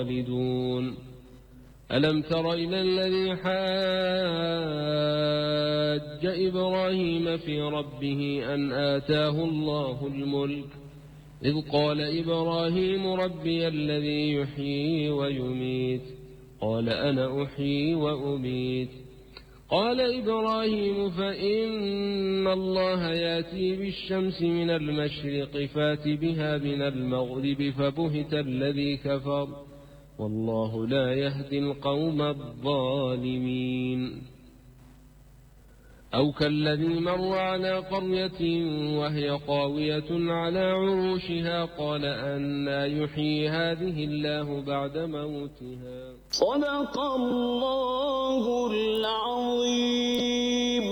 خالدون. ألم تر إلى الذي حاج إبراهيم في ربه أن آتاه الله الملك إذ قال إبراهيم ربي الذي يحيي ويميت قال أنا أحيي وأميت قال إبراهيم فإن الله يأتي بالشمس من المشرق فات بها من المغرب فبهت الذي كفر والله لا يهدي القوم الظالمين. أو كالذي مر على قرية وهي خاوية على عروشها قال أنى يحيي هذه الله بعد موتها. صدق الله العظيم.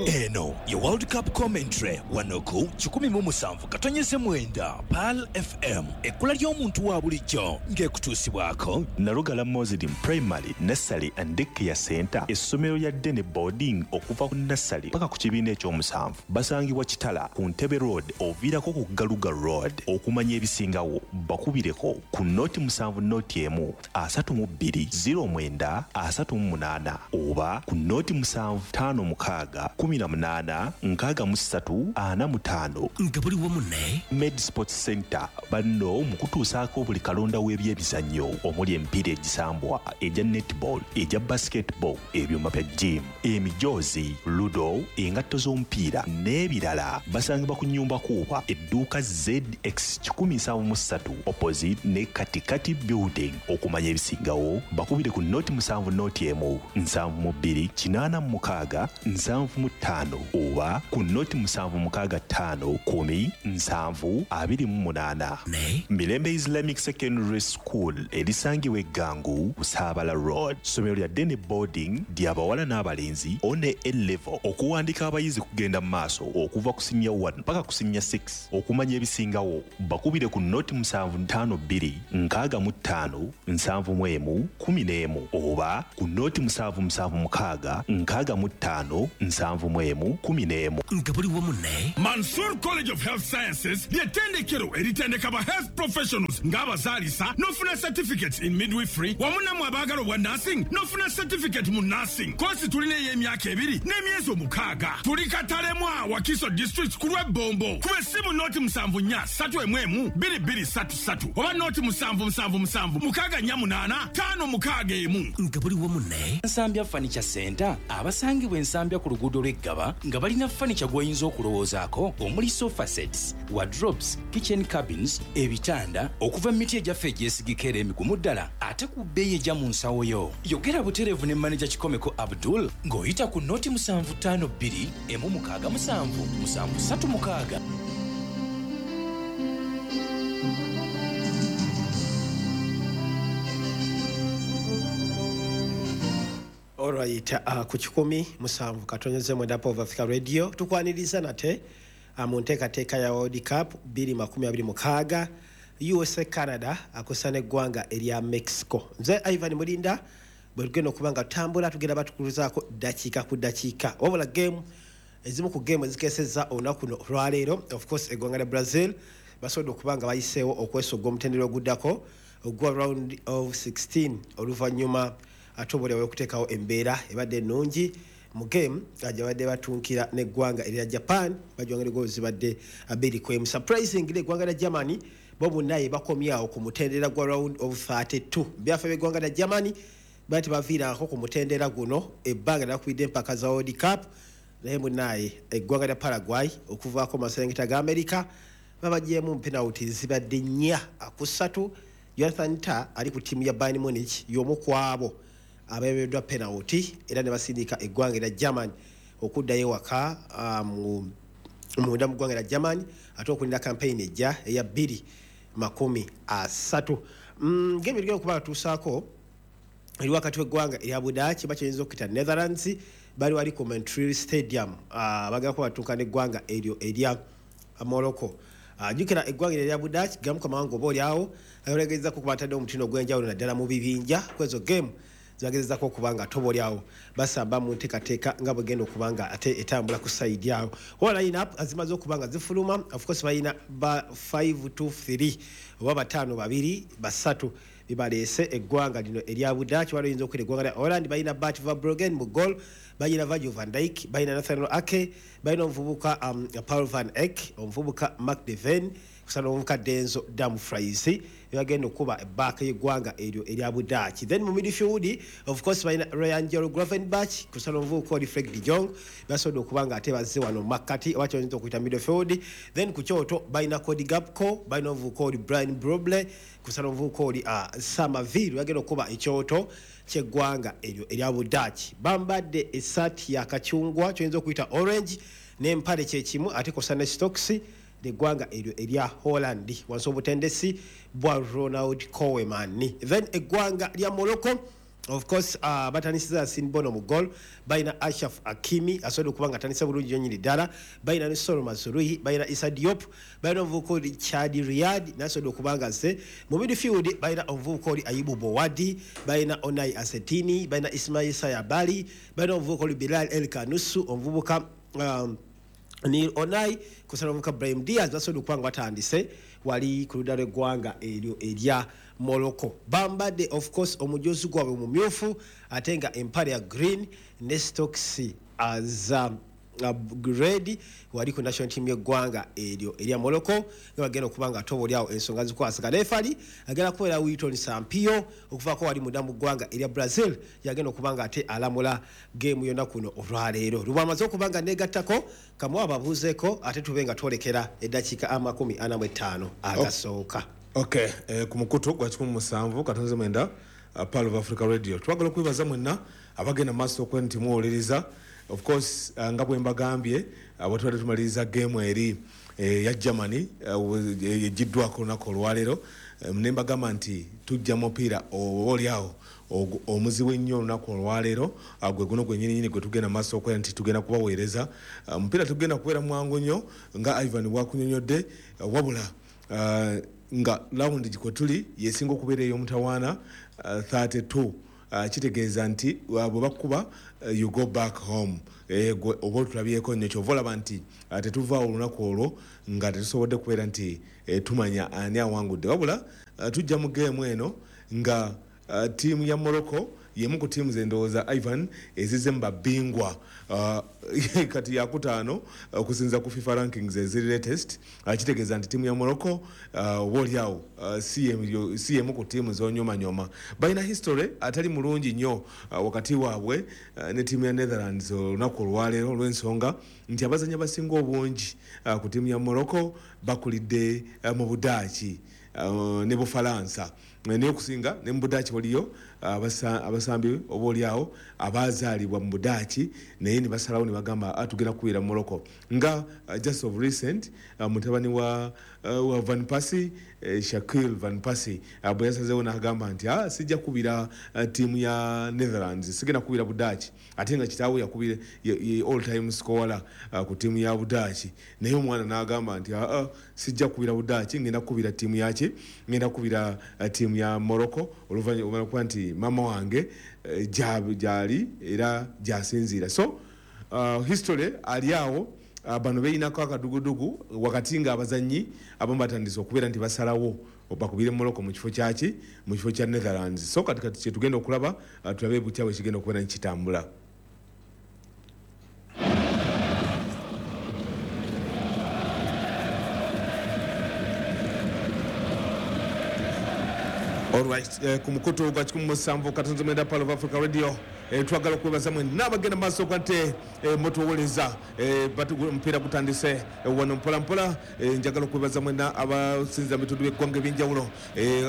Eno ye World Cup commentary wano ku 107.9 Pearl FM, ekkula ly'omuntu wa bulijjo ng'ekutuusibwako Nalugala Muslim Primary, Nursery and Daycare Center, essomero lya day boarding okuva ku nursery paka ku kibiina ekyomusanvu. Basangibwa Kitala ku Ntebe Road oviirako ku Galuga Road. Okumanya ebisingawo bakubireko ku 071 32 09 38 oba ku 0756 18 63 45. Nga buli wamu ne Med Sports Center banno mu kutuusaako buli kalonda w'ebyemizannyo omuli emipiira egisambwa, egya netball, egya basketball, ebyuma bya gym, emijoozi, ludo, engatto z'omupiira n'ebirala. Basangibwa ku nnyumba kuuba edduuka ZX 173 opposite ne Katikati Building. Okumanya ebisingawo bakubire ku 071 72 86 75 oba ku 0765 10 7 28. Ne Mirembe Islamic Secondary School erisangibwa Eggangu, Busaabala Road, ssomero lya day boarding ly'abawala n'abalenzi one A level. Okuwandika abayizi kugenda mu maaso okuva ku senior 1 paka ku senior 6. Okumanya ebisingawo bakubire ku 0752 65 71 11 oba ku 0776 65 71 11. Nga buli wamu ne Mansur College of Health Sciences ly'ettendekero eritendeka ba health professionals ng'abazaalisa n'ofuna certificates in midwifery, wamu nammwe abaagala obwa nursing n'ofuna certificate mu nursing. Kosi tulina ey'emyaka 2 n'emyezi 6. Tuli Katalemwa, Wakiso District, ku lw'Ebbombo. Kuba essimu 074 311 2233 oba 0777 648 561. Nga buli wamu ne Nsambya Furniture Center abasangibwa Ensambya ku luguudo lw'Eggaba nga balina furniture gw'oyinza okulowoozaako omuli sofa sets, wardrobes, kitchen cabins, ebitanda okuva mu miti egyaffe egyesigika era emigumu ddala ate ku bbeeyi ejja mu nsawo yo. Yogera butereevu ne maneja Kikomeko Abdul ng'oyita ku 0752 167 736. Alright, ku 107.9 Pearl of Africa Radio tukwaniriza nate mu nteekateeka ya World Cup 2026 USA Canada akusa n'eggwanga erya Mexico. Nze Ivan Mulinda, bwe tugenda okuba nga tutambula tugenda batukuluzaako ddakiika ku ddakiika. Wabula game ezimu ku game ezikeesezza olunaku luno olwaleero, of course eggwanga lya Brazil basobodde okuba nga bayiseewo okwesogga omutendera oguddako ogwa round of 16 oluvannyuma ate oboolyawo okuteekawo embeera ebadde ennungi mu game gye badde batunkira n'eggwanga erya Japan, bajwangire goals zibadde 2-1. Surprisingly eggwanga lya Germany bo munnaye bakomyawo ku mutendera gwa round of 32. Byafa by'eggwanga lya Germany bali tebaviirangako ku mutendera guno ebbanga lyakubidde empaka za World Cup, naye munnaye eggwanga lya Paraguay okuvaako mu maserengeta ga America babagyemu penalty zibadde 4-3. Jonathan Tah ali ku ttiimu ya Bayern Munich y'omu ku abo abeereddwa penalty era ne basindika eggwanga erya Germany okuddayo ewaka munda mu ggwanga erya Germany ate okulinda campaign ejja eya 2030. Game erigenda okuba batuusaako eri wakati w'eggwanga erya Budaaki bakyayinza okuyita Netherlands, bali wali ku Montreal Stadium, bagenda kuba batuuka n'eggwanga eryo erya Morocco. Jjukira eggwanga erya Budaaki gamu ku mawanga oba oliawo ageragezaako okuba bataddewo omutindo ogw'enjawulo naddala mu bibinja kwezo game zibagezezzaako okuba nga ate oba oliawo basamba mu nteekateeka nga bwegenda okuba nga ate etambula ku sayidi awo. Wala line-up zimaze okuba nga zifuluma, of course balina ba 5-2-3 oba 5-2-3 Bibaleese eggwanga lino erya Budaaki. Waliwo oyinza okukwira eggwanga lya Holland, balina Bart Verbruggen mu goal, balina Virgil van Dijk, balina Nathaniel Ake, balina omuvubuka Paul van Eck, omuvubuka Mark de Ven, kusana omuvubuka Denzel Dumfries, bagenda okuba back y'eggwanga eryo erya Budaaki. Then mu midfield of course balina Ryan Gravenberch, kusana omuvubuka oli Frank de Jong, basobodde okuba nga ate bazze wano makkati oba kyoyinza okuyita midfield. Then ku kyoto balina Cody Gakpo, balina omuvubuka oli Brian Broble, kusana omuvubuka oli Samaville, bagenda okuba ekyoto ky'eggwanga eryo erya Budaaki. Bambadde essaati ya kacungwa kyoyinza okuyita orange n'empale kyekimu, ate kosa ne stocks eggwanga eryo erya Holland wansi obutendesi bwa Ronald Koeman. Then eggwanga lya Morocco of course batandisiza Yassine Bono mu goal, balina Ashraf Hakimi asobodde okuba nga atandise bulungi nnyo nnyini ddala, balina ne Soro Mazrui, balina Issa Diop, balina omuvubuka oli Chadi Riyad naye asobodde okuba nga azze. Mu midfield balina omuvubuka oli Ayubu Bouaddi, balina Onai Asetini, balina Ismail Sayabali, balina omuvubuka oli Bilal El Kanusu, omuvubuka Neil Onai kusala omuvubuka Brahim Diaz, basobodde okuba nga batandise wali ku ludda lw'eggwanga eryo erya Morocco. Bambadde of course omujozi gwabwe mumyufu ate nga empale ya green ne stocks za red wali ku national team y'eggwanga eryo erya Morocco, nga bagenda okuba nga atoba oliawo ensonga zikwasagana. Referee agenda kubeera Wilton Sampio okuvaako wali munda mu ggwanga erya Brazil, yagenda okuba nga ate alamula geemu yonna kuno olwaleero. Lubamaze okuba nga negattako kamuwa ababuuzeeko ate tube nga twolekera eddakiika 45 agasooka. Okay, ku mukutu gwa 17.9 Pearl of Africa Radio. Twagala okwebaza mwenna abagenda maaso okuba nti muwuliriza. Of course nga bwe mbagambye bwe tubadde tumaliriza geemu eri ya Germany egiddwako olunaku olwaleero, ne mbagamba nti tujja mupiira oba oliawo omuzibu ennyo olunaku olwaleero, gwe guno gwennyininyini gwe tugenda maaso okubeera nti tugenda kubaweereza. Omupiira tugenda kubeera mwangu nnyo nga Ivan bw'akunyonnyodde, wabula nga round kwe tuli yesinga okubeera ey'omutawaana 32. Kitegeeza nti bwe bakuba you go back home, oba otulabyeko nnyo. Kyova olaba nti tetuvaawo olunaku olwo nga tetusobodde kubeera nti tumanya ani awangudde. Wabula tujja mu geemu eno nga ttiimu ya Morocco yemu ku ttiimu ze ndowooza Ivan ezizze mu babingwa kati yakutaano okusinza ku FIFA rankings eziri latest. Kitegeeza nti ttiimu ya Morocco oba oliawo si yemu ku ttiimu z'onyomanyoma. Balina history atali mulungi nnyo wakati waabwe ne ttiimu ya Netherlands olunaku olwaleero, olw'ensonga nti abazannyi abasinga obungi ku ttiimu ya Morocco bakulidde mu Budaaki ne Bufalansa, naye okusinga ne mu Budaaki waliyo abasambi oba oliawo abazaalibwa mu Budaaki naye ne basalawo ne bagamba tugenda kubeera Morocco. Nga just of recent mutabani wa Van Persie, Shaquille Van Persie, bwe yasazeewo n'agamba nti sijja kubira ttiimu ya Netherlands, sigenda kubira Budaaki, ate nga kitaawe yakubira all time scorer ku ttiimu ya Budaaki, naye omwana n'agamba nti sijja kubira Budaaki, ngenda kubira ttiimu yaki, ngenda kubira ttiimu ya Morocco, oluvannyuma lw'okuba nti mama wange gyali era gyasinziira. So history ali awo, bano beeyinako akadugudugu wakati nga abazannyi abamu batandise okubeera nti basalawo bakubire Morocco mu kifo kyaki, mu kifo kya Netherlands. So kati kati kyetugenda okulaba, tulabe butya bwe kigenda okubeera nikitambula. Alright, ku mukutu gwa 17.9 Pearl of Africa Radio, twagala okwebaza mwenna abagenda maaso nti mutuwuliriza. Omupiira gutandise wano mpola mpola. Njagala okwebaza mwenna abasinziira mu bitundu by'eggwanga ebyenjawulo,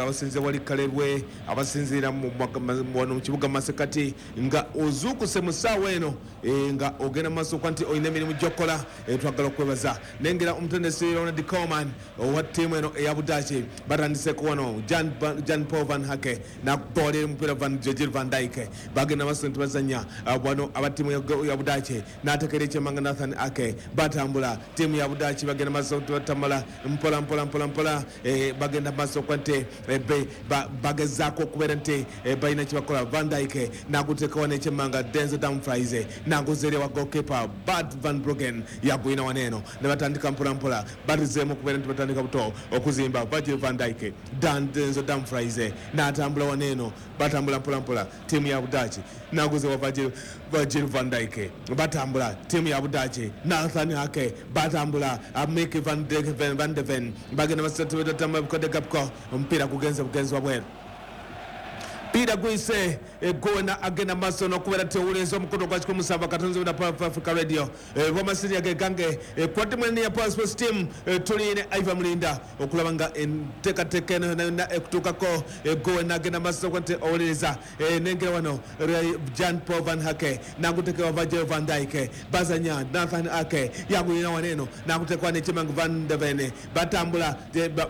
abasinziira wali Kalerwe, abasinziira wano mu kibuga Masekati, nga ozuukuse mu ssaawa eno nga ogenda maaso nti olina emirimu gy'okola. Twagala okwebaza. Nengera omutendesi Ronald Koeman owa ttiimu eno eya Budaaki, batandiseeko wano Jan Paul van Hake nakuboolera omupiira Virgil van Dijk, bagenda maaso nti bazannya wano aba ttiimu ya Budaaki, n'ateekera ekyemanga Nathan Ake, batambula ttiimu ya Budaaki bagenda maaso nti batambula mpola mpola mpola mpola, bagenda maaso nti bagezaako okubeera nti balina kye bakola. Van Dijk n'aguteeka wano ekyemanga Denzel Dumfries, n'aguzeera wa goalkeeper Bart van Bruggen, yagwina wano eno ne batandika mpola mpola, batizeemu okubeera nti batandika buto okuzimba. Virgil van Dijk, Denzel Dumfries Van n'atambula waneeno, batambula mpola mpola ttiimu ya Budaaki, naguze wa Virgil van Dijk, batambula ttiimu ya Budaaki, Nathan Ake batambula, Mick van de Ven bagenda masatamakodegapko, omupiira gugenze bugenzi wabweru. Peter Gwise gona agenda maaso n'okubeera tewuliza omukutu gwa 107.7 na Power Africa Radio Roma City agegange kwatimweni ya Power Sports Team tuline Ivan Mulinda okulaba nga enteekateeka eno yonna ekutuukako. Gona agenda maaso nti owuliriza nengera wano Jan Paul van Hake nagutekewa Virgil van Dijk, bazanya Nathan Ake yagulina wano eno nagutekwa ne Chemang van de Ven, batambula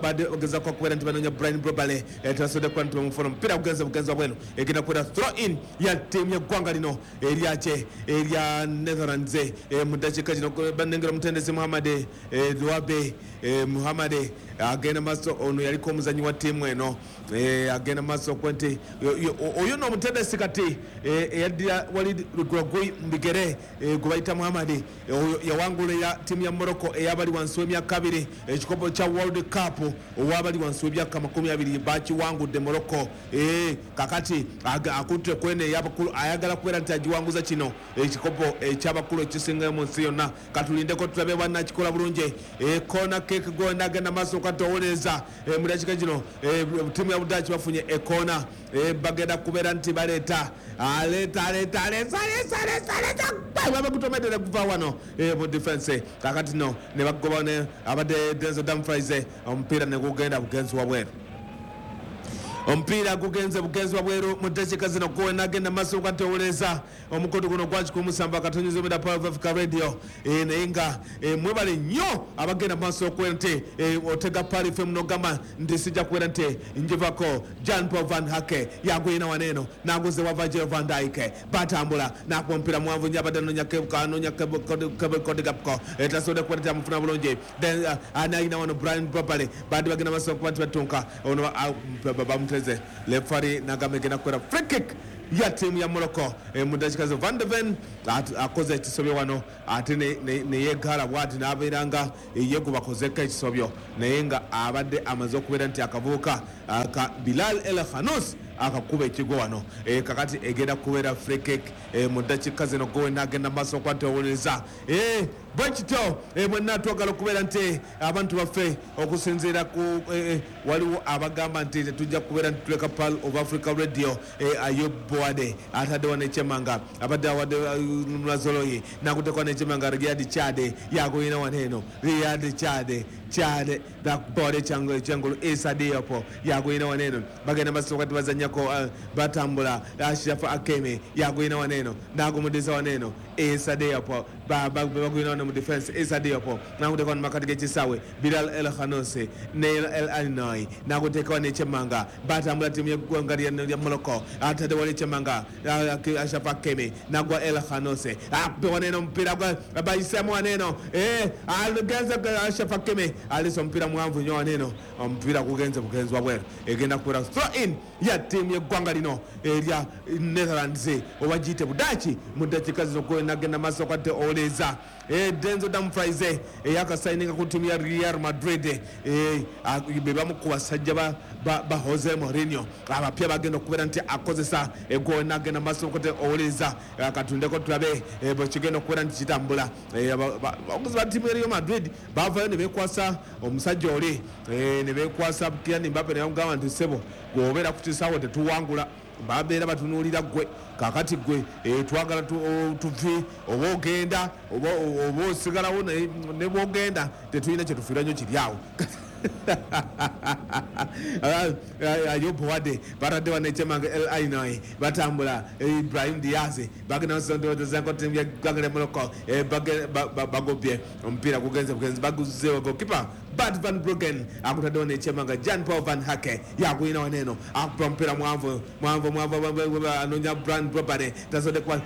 bagezako okubeera nti banoonya Brian Brobale, tasobodde kuba nti bamufuna, omupiira gugenze bugenzi wabweru, egenda kubeera throw in ya ttiimu y'eggwanga lino eryake erya Netherlands. Mu ddakiika kino banengera omutendesi Muhammad Lwabe Muhammad agenda maaso, ono yaliko omuzanyi wa ttiimu eno, agenda maaso okuba nti oyo nno omutendesi kati eyaddira Walid Regragui Mbigere gwe bayita Muhammad, oyo yawangulira ttiimu ya Morocco ey'abali wansi w'emyaka 2 ekikopo kya World Cup, ow'abali wansi w'emyaka 20 bakiwangudde Morocco. Kakati akutte kwene ey'abakulu, ayagala kubeera nti agiwanguza kino ekikopo eky'abakulu ekisingayo mu nsi yonna. Katulindeko tulabe bannakikola bulungi. Kona kick gona agenda maaso kati owuliriza mu dakiika kino ttiimu ya Budaaki bafunye ekona, bagenda kubeera nti baleeta aleeta aleeta aleeta aleeta aleeta aleeta babagutomedere kuva wano mu defense. Kakati no ne bagoba ne abadde Denzel Dumfries, omupiira ne gugenda bugenzi wabweru, omupiira gugenze bugenzi wabweru mu ddakiika zino. Gwe agenda maaso kati owuliriza omukutu guno gwa 107.7 Power Africa Radio, naye nga mwebale nnyo abagenda maaso okubeera nti otega Pearl FM n'ogamba nti sijja kubeera nti njivako. Jan Paul van Hake yagwina waneeno naguze wa Virgil van Dijk, batambula nakuba omupiira muwanvu nnyo, abadde anoonya Kodegapko, tasobodde kubeera nti amufuna bulungi. Then anayina wano Brian Brobale, badde bagenda maaso okuba nti batunka ono bamuteze, lefari nagamba egenda kubeera free kick ya ttiimu ya Morocco mu ddakiika zo. Van de Ven akoze ekisobyo wano ate neyeggala bwati n'abeera nga ye gwe bakozeko ekisobyo, naye nga abadde amaze okubeera nti akavubuka ka Bilal El Khanous akakuba ekigwo wano. Kakati egenda kubeera free kick mu ddakiika zino. Gwe n'agenda maaso okuba nti owuliriza bwe kityo mwenna twagala okubeera nti abantu baffe okusinziira ku waliwo abagamba nti tetujja kubeera nti tuleka Pearl of Africa Radio. Ayub Boade atadde wano ekyemanga, abadde awadde Mazoloyi nakutekwa n'ekyemanga Riyad Chade yagulina wano eno, Riyad Chade Chade bakubode ekyangulu Issa Diop yagulina wano eno, bagenda maaso kati bazannyako batambula, Ashraf Hakimi yagulina wano eno nagumudiza wano eno Issa Diop, bagulina wano mu defense Issa Diop nakutekwa wano makati g'ekisaawe Bilal El Khannouss Neil El Aynaoui nakuteeka wano ekyemanga, batambula ttiimu y'eggwanga lya Morocco, atadde wano ekyemanga Ashraf Hakimi nagwa El Khannouss, akube wano eno omupiira bayisemu wano eno agenze Ashraf Hakimi alisa omupiira muwanvu nnyo wano eno, omupiira gugenze bugenzi wabweru, egenda kubeera throw in ya ttiimu y'eggwanga lino erya Netherlands oba giyite Budaaki mu ddakiika zino. Gwe nagenda maaso kati owuliriza Denzel Dumfries eyakasayininga ku ttiimu ya Real Madrid, be bamu ku basajja ba Jose Mourinho abapya bagenda okubeera nti akozesa. Gwe nagenda maaso kati owuliriza, katundeko tulabe bwe kigenda okubeera nti kitambula. Abakozi ba ttiimu ya Real Madrid bavayo ne beekwasa omusajja oli, ne beekwasa Kylian Mbappe ne bamugamba nti ssebo gweobeera ku kisaawe tetuwangula, babeera batunuulira ggwe, kakati ggwe twagala tuve oba ogenda oba osigalawo, ne bwogenda tetulina kyetufiira nnyo kiri awo. Ayub Wade batadde wano ekyemanga El Aynaoui, batambula Ibrahim Diaz bagenda tiimu ya Morocco, bagobye omupiira gugenze bugenzi baguzeewo goalkeeper Bart van Bruggen akutadde wano ekyemanga Jan Paul van Hake yagulina wano eno akuba omupiira muwanvu muwanvu muwanvu anoonya Brian Brobale tasobodde kuba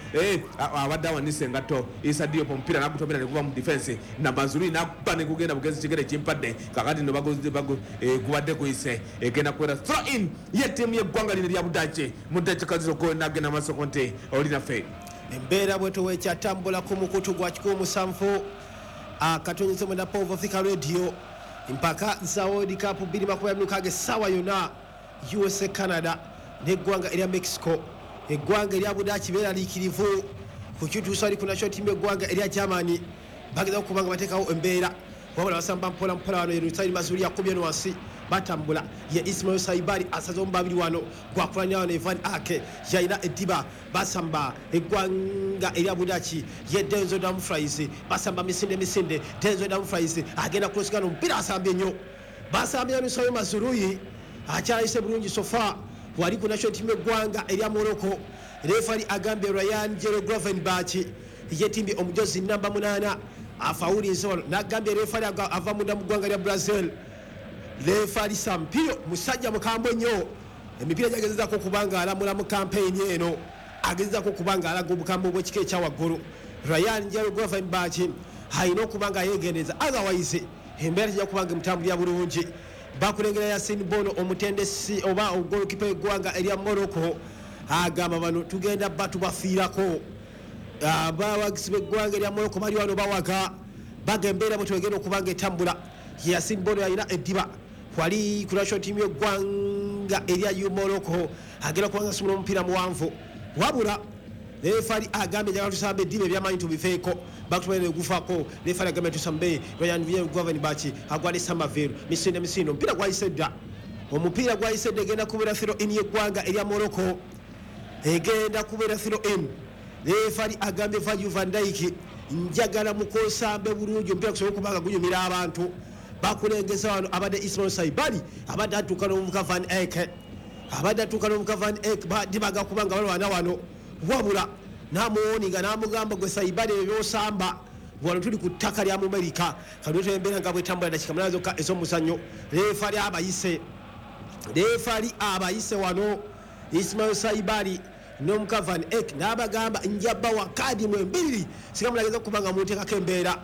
abadde awanise engatto Issa Diop, omupiira nagutomera ne guva mu defense na Mazrui nakuba ne gugenda bugenzi kigere kimpadde, kakati no gubadde guyise, egenda kubeera throw in ye ttiimu y'eggwanga lino erya Budaaki mu ddakiika zino. Gwe nagenda maaso nti oli naffe. Embeera bwetu wekyatambula ku mukutu gwa 107.9 Power Africa Radio, empaka za World Cup 2026 essaawa yonna USA Canada n'eggwanga erya Mexico. Eggwanga erya Budaaki beeraliikirivu ku kituusa ali ku national team y'eggwanga erya Germany. Bageza okuba nga bateekawo embeera, wabula basamba mpola mpola. Wano Yerusalemu Mazuri yakubye eno wansi, batambula. Ye Ismail Saibari asaze omu babiri wano, gwakulanya wano Evan Ake yalina eddiba. Basamba eggwanga erya Budaaki, ye Denzel Dumfries. Basamba misinde misinde. Denzel Dumfries agenda kulosigana omupiira, asambye nnyo, basambye Nusayo Mazuruyi akyayise bulungi sofa wali ku national team y'eggwanga erya Morocco. Refari agambye Ryan Jero Gravenberch yetimbye omujozi namba 8 afawulinze wano, n'agambye refari ava munda mu ggwanga lya Brazil, refari Sampio, musajja mukambwe nnyo. Emipiira gyagezezaako okuba nga alamula mu kampeyini eno, agezezaako okuba nga alaga obukambwe obw'ekika ekya waggulu. Ryan Jero Gravenberch alina okuba nga yeegendereza, otherwise embeera tejja kuba nga emutambulira bulungi. Bakulengera Yasin Bono, omutendesi oba ogolokipa w'eggwanga erya Morocco, agamba bano tugenda batubafiirako. Abawagizi b'eggwanga erya Morocco bali wano bawaga, baga embeera bwe twegenda okuba nga etambula. Yasin Bono alina eddiba wali ku national team y'eggwanga erya Morocco, agenda kuba nga asumula omupiira muwanvu, wabula refari agambye njagala tusambe eddiba ebyamaanyi tubiveeko. Bakutumaire gufako. Refari agambye tusambe. Ryan Gravenberch agwale Samaville, misinde misinde, omupiira gwayise dda, omupiira gwayise dda. Egenda kubeera throw in y'eggwanga erya Morocco, egenda kubeera throw in. Refari agambye Virgil van Dijk, njagala mukosambe bulungi omupiira gusobole okuba nga gunyumira abantu. Bakulengeza wano abadde Ismail Saibali, abadde atuuka n'omuvuka Van Eyck, abadde atuuka n'omuvuka Van Eyck, dibaga kuba nga balwana wano, wabula n'amuwoninga n'amugamba gwe Saibali ebyo by'osamba, wano tuli ku ttaka lya Mumerika. Kati embeera nga bwetambula, dakika 8 zokka ez'omuzannyo. Refari abayise, refari abayise wano Ismail Saibali n'omuka Van Eyck, n'abagamba njabawa kaadi mwembiriri singa mulageza okuba nga munteekako embeera.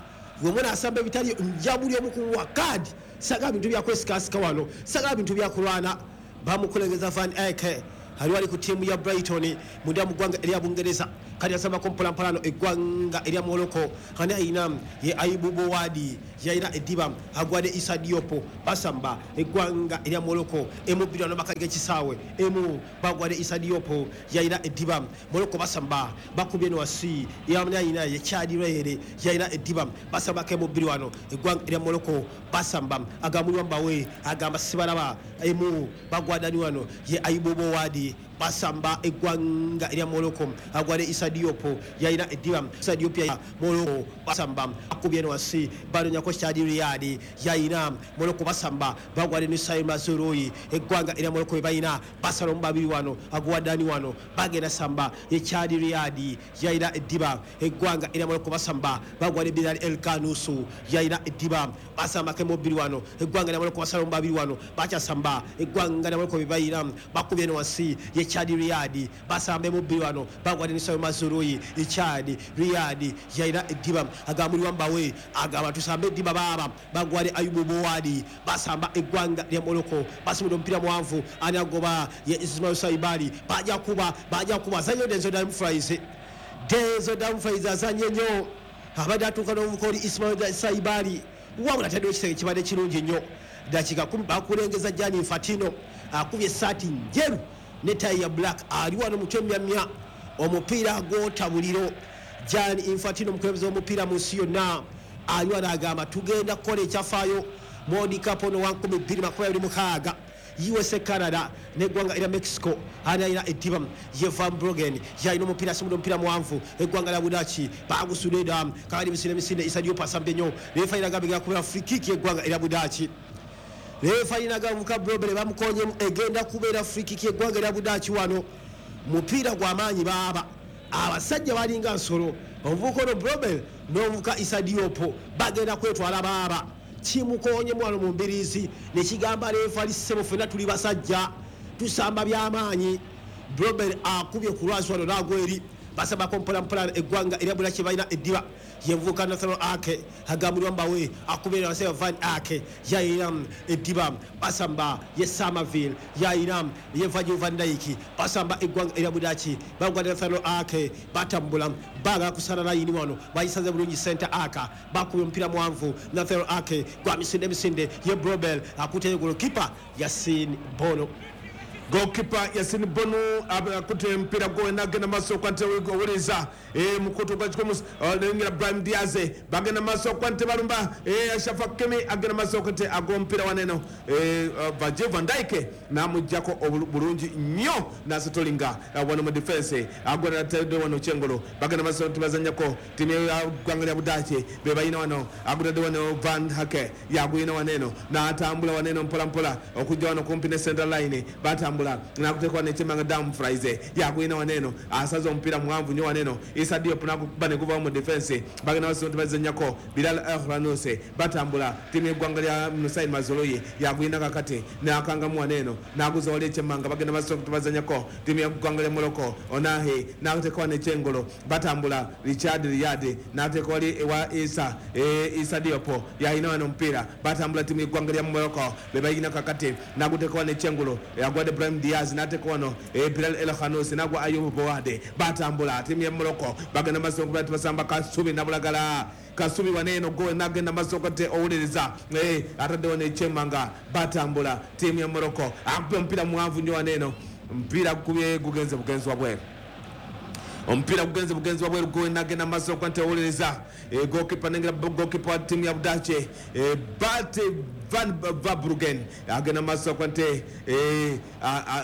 Gwe munaasamba ebitali, nja buli omu kumuwa kaadi. Sagala bintu byakwesikasika wano, sagala bintu byakulwana. Bamukulengeza Van Eyck, ali wali ku ttiimu ya Brighton munda mu ggwanga erya Bungereza. Kati asambako mpolampola eggwanga erya Morocco. Ani ayina? Ye Aibu Bowadi yalina eddiba, agwadde Isa Diopo. Basamba eggwanga erya Morocco emu bbiri wano bakaliga ekisaawe emu, bagwadde Isa Diopo yalina eddiba. Morocco basamba, bakubye eno wasi. Yamani ayina? Ye Chadi Rere yalina eddiba. Basambako emu bbiri wano eggwanga erya Morocco, basamba agamulwa mbawe, agamba sibalaba. Emu bagwadani wano? Ye Aibu Bowadi. Basamba eggwanga erya Morocco, agwadde Isa Diopo yalina eddiba. Isa Diop ya Morocco basamba, akubye eno wasi, banonyako Chadi Riyadi yalina. Morocco basamba, bagwadde Nusair Mazurui. Eggwanga erya Morocco be balina, basala omu babiri wano, agwadani wano, bagenda samba. Ye Chadi Riyadi yalina eddiba. Eggwanga erya Morocco basamba, bagwadde Bilal El Kanusu yalina eddiba. Basambako emu bbiri wano eggwanga erya Morocco, basala omu babiri wano, bakyasamba. Eggwanga erya Morocco be balina, bakubye eno wansi. Ye Chadi Riyadi, basamba emu bbiri wano, bagwadde Nusair Mazurui. Chadi Riyadi yalina eddiba, agamulwa mbawe, agamba tusambe eddiba baaba. Bagwadde Ayubu Bowadi. Basamba eggwanga lya Morocco, basimudde omupiira muwanvu. Ani agoba? Ye Ismail Saibali. Bajja kuba, bajja kuba. Azanye Denzel Dumfries, Denzel Dumfries azanye nnyo, abadde atuuka n'omuvuka oli Ismail Saibali, wabula taddewo ekisenge kibadde kirungi nnyo. Dakika 10, bakulengeza Gianni Infantino, akubye essaati njeru ne tayi ya black, ali wano mutwe myamya, omupiira gwota buliro. Gianni Infantino, omukulembeze w'omupiira mu nsi yonna, ali wano agamba tugenda kukola ekyafaayo. World Cup ono wa 2026, USA Canada neggwanga erya Mexico. Ani alina eddiba? Ye Van Brogen yalina omupiira, asimudde omupiira muwanvu. Eggwanga lya Budaaki bagusudde dda. Kakati misinde misinde, Isa Diop asambye nnyo. Refa agamba egenda kubeera free kick y'eggwanga erya Budaaki. Refa nagavuka Brobere bamukonyemu, egenda kubeera free kick y'eggwanga erya Budaaki. Wano mupiira gw'amaanyi baaba, abasajja balinga nsolo. Omuvubuka ono Brobel n'omuvubuka Isa Diopo bagenda kwetwala baaba. Kimukonyemu wano mu mbiriizi nekigamba refa ssebo, ffenna tuli basajja, tusamba byamaanyi. Brobel akubye ku lwazi wano n'agwa eri. Basambako mpolampola eggwanga erya Bulaki balina eddiba. Yenvuka Nathaniel Ake, agambulwa mbawe, akubira waseba. Van Ake yayina eddiba, basamba. Ye Samaville yayina, ye Virgil van Dijk. Basamba eggwanga erya Budaki, bagwa Nathaniel Ake, batambula, bagala kusala layini wano, bayisaze bulungi. Center aka bakubye omupiira muwanvu. Nathaniel Ake gwa misinde misinde, ye Brobel akuteyo, golokipa Yasin Bono. Goalkeeper Yasin Bonu akute mpira gwe nagenda maso kwante owuliriza mukutu gwa kikomu nengera Brahim Diaz bagenda maso kwante balumba Ashraf Hakimi agenda maso kwante agwa mpira waneno Virgil van Dijk namujjako bulungi nnyo nasetolinga wano mu defense agwa natedde wano Chengolo bagenda maso nti bazannyako timu ya ggwanga lya Budaaki be balina wano agudadde wano Van Hake yagwina waneno n'atambula waneno mpola mpola okujja wano kumpi ne center line batambula nakutekwa nechemanga Dumfries yagwina waneno asaza omupiira muwanvu nnyo waneno Issa Diop nakukuba ne guvawo mu defense bagenda maaso nti bazannyako Bilal El Khannouss batambula timu y'eggwanga lya Nusain Mazoloyi yagwina kakati n'akangamu waneno n'aguza wali ekyemanga bagenda maaso nti bazannyako timu y'eggwanga lya Morocco Onahi n'akutekwa nechengolo batambula Richard Riyad n'akutekwa wali ewa Issa Diop yalina wano omupiira batambula timu y'eggwanga lya Morocco be balina kakati n'agutekwa nechengolo yagwadde Brahim Diaz n'ateeka wano Bilal El Khannouss n'agwa Ayub Bowade batambula timu ya Morocco bagenda maaso okuba nti basamba Kasubi nabulagala Kasubi waneno gwe nagenda maaso kate owuliriza atadde wano ekyemanga batambula timu ya Morocco akuba omupiira muwanvu nnyo waneno omupiira gukubye gugenze bugenzi wabweru omupiira gugenze bugenzi wabweru gwe nagenda maaso kwante owuliriza goalkeeper nengera goalkeeper wa timu ya Budaaki Bart Van Verbruggen agenda maaso kwante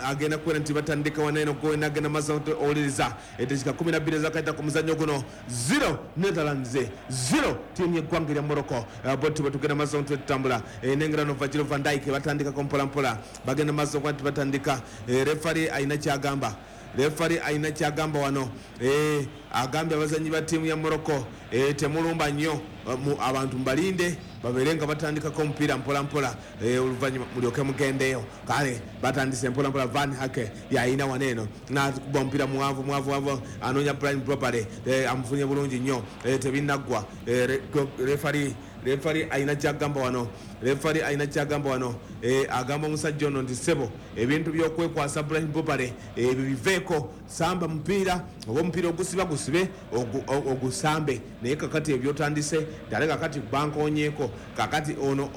agenda kubeera nti batandika waneno gwe nagenda maaso kwante owuliriza eddakiika 12 ezakayita ku muzannyo guno 0 Netherlands 0 tiimu y'eggwanga erya Morocco boti bwe tugenda maaso nti tutambula nengera no Virgil van Dijk batandikako mpola mpola bagenda maaso kwante batandika refari alina kyagamba refari alina kyagamba wano agambye abazannyi ba ttiimu ya Morocco temulumba nnyo abantu mbalinde babeere nga batandikako omupiira mpola mpola oluvannyuma mulyoke mugendeyo kale batandise mpola mpola Van Hake yalina wano eno n'akuba omupiira muwanvu muwanvu muwanvu anoonya Brian Brobale amufunye bulungi nnyo tebinnaggwa refari alina kyagamba wano refari alina kyagamba wano agamba omusajja ono nti ssebo ebintu by'okwekwasa Brian Brobale ebyo biveeko samba mupiira oba omupiira ogusiba gusibe ogusambe naye kakati ebyotandise ddala kakati bankoonyeeko kakati ono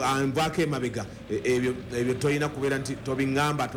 anvaako emabega ebyo tolina kubeera nti tobiŋŋamba.